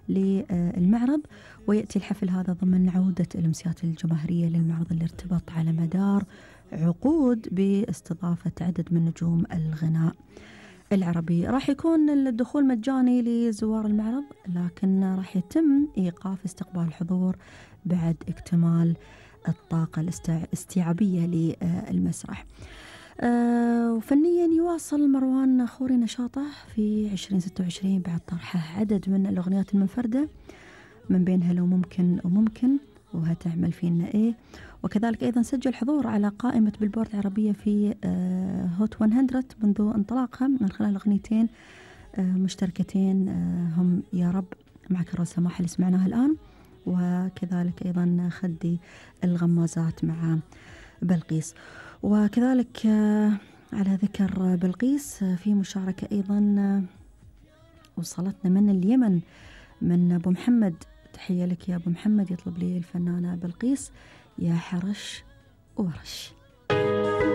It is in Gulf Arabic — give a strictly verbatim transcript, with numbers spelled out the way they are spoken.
للمعرض. ويأتي الحفل هذا ضمن عودة الأمسيات الجماهيرية للمعرض اللي ارتبط على مدار عقود باستضافة عدد من نجوم الغناء العربي. راح يكون الدخول مجاني لزوار المعرض، لكن راح يتم إيقاف استقبال الحضور بعد اكتمال الطاقة الاستيعابية للمسرح. أه وفنيا يواصل مروان خوري نشاطه في عشرين ستة وعشرين بعد طرحه عدد من الأغنيات المنفردة، من بينها لو ممكن وممكن وهتعمل فينا إيه. وكذلك أيضا سجل حضور على قائمة بيلبورد العربية في أه هوت مئة منذ انطلاقها من خلال أغنيتين أه مشتركتين أه هم يا رب معك الرأس سماح اللي سمعناها الآن، وكذلك أيضا خدي الغمازات مع بلقيس. وكذلك على ذكر بلقيس في مشاركة أيضا وصلتنا من اليمن من أبو محمد، تحية لك يا أبو محمد، يطلب لي الفنانة بلقيس يا حرش ورش.